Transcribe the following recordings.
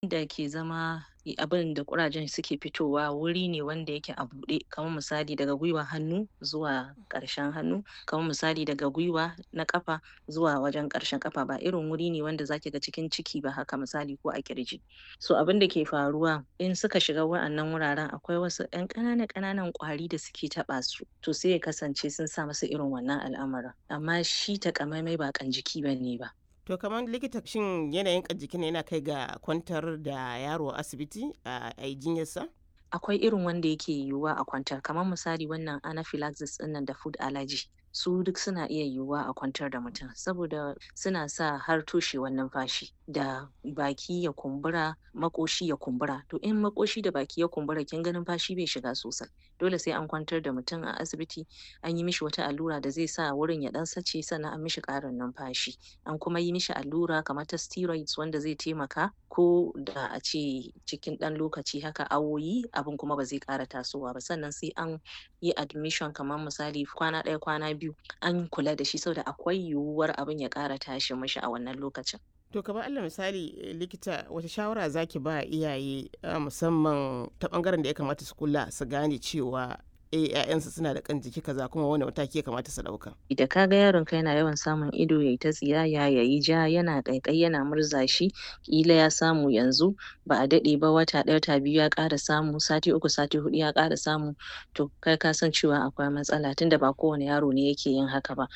Da ke zama abin da ƙurajen suke fitowa wuri ne wanda yake a buɗe, kamar misali daga gwiwar hannu zuwa ƙarshen hannu, kamar misali daga gwiwa na ƙafa zuwa wajen ƙarshen ƙafa, ba irin wuri ne wanda zaki ga cikin ciki ba haka misali ko a ƙirji. So abin da ke faruwa in suka shiga wa'annan wuraren, akwai wasu ƴan ƙanana ƙananan ƙwari da suke taɓa su, to sai ya kasance sun sa musu irin wannan al'amarin. Amma shi taƙamaimai ba ƙan jiki bane ba. To kamar likita, shin yanayin ƙan jikin yana kai ga kwantar da yaro a asibiti a yi jinyarsa? Akwai irin wanda yake yiwuwa a kwantar, kamar misali wannan anaphylaxis ɗinnan da food allergy, su duk suna iya yiwuwa a kwantar da mutum saboda suna sa har toshewar numfashi da baki ya kumbura, maƙoshi ya kumbura. To in maƙoshi da baki ya kumbura, kin ga numfashi bai shiga sosai. Dole sai an kwantar da mutum a asibiti, an yi mishi wata allura da zai sa wurin ya ɗan sace, sannan an mishi ƙarin numfashi. An kuma yi mishi allura kamar ta steroids wanda zai taimaka ko da a ce cikin ɗan lokaci haka, awoyi, abin kuma ba zai ƙara tasowa ba. Sannan sai an yi admission, kamar misali kwana ɗaya, kwana biyu, an kula da shi saboda akwai yiwuwar abin ya ƙara tashi mishi a wannan lokacin. To kamar alal misali, likita, wace shawara zaki ba iyaye, musamman ta bangaren da ya kamata su kula su gane cewa 'ya'yansu suna da ƙan jiki kaza, kuma wane mataki ya kamata su ɗauka? Da ka ga yaronka yana yawan samun ido yayi ta tsiyaya, yayi ja, yana ƙaiƙayi, yana murza shi, ƙila ya samu yanzu, ba a daɗe ba, wata ɗaya, wata biyu ya ƙara samu, sati 3, sati 4 ya ƙara samu, to kai ka san cewa akwai matsala, tunda ba kowane yaro ne yake yin haka ba.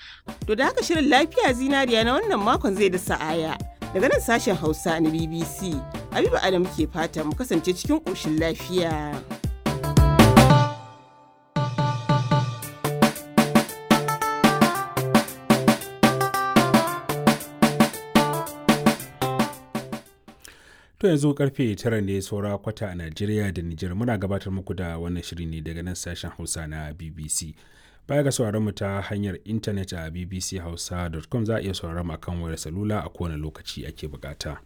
To da haka shirin Lafiya Zinariya na wannan makon zai da sa'aya. Daga nan sashen Hausa na BBC, Habiba Adam ke fata mu kasance cikin ƙoshin lafiya. To yanzu karfe 9 ne saura kwata a Najeriya da Nijar. Muna gabatar muku da wannan shiri ne daga nan sashen Hausa na BBC. Baya ga sauraron mu ta hanyar intanet a bbchausa.com, za a iya sauraron mu akan wayar salula a kowane lokaci ake bukata.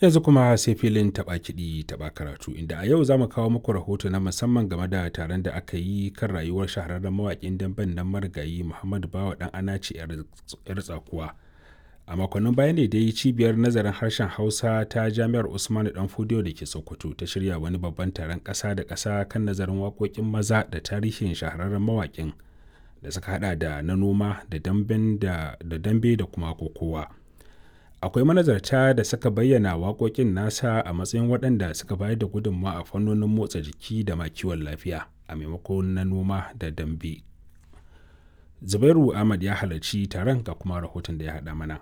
Yanzu kuma sai filin taɓa kiɗi taɓa karatu, inda a yau za mu kawo muku rahoto na musamman game da taron da aka yi kan rayuwar shahararren mawaƙin damben nan marigayi Muhammadu Bawa Ɗan Anace 'Yar Tsakuwa. A makonnin baya ne dai cibiyar nazarin harshen Hausa ta Jami'ar Usmanu Danfodiyo da ke Sokoto ta shirya wani babban taron ƙasa da ƙasa kan nazarin waƙoƙin maza da tarihin shahararren mawaƙin da suka hada da na noma da dambe da kuma kokowa. Akwai manazarta da suka bayyana waƙoƙin nasa a matsayin waɗanda suka bayar da gudunmawa a fannonin motsa jiki da ma kiwon lafiya a maimakon na noma da dambe. Zubairu Ahmad ya halarci taron, ga kuma rahoton da ya haɗa mana.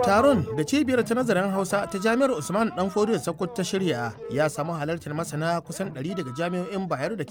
Taron da cibiyar ta nazarin Hausa ta Jami'ar Usman Dan Fodiyo Sokoto ta shirya ya samu halartar masana kusan 100 daga jami'o'in Bayero da ke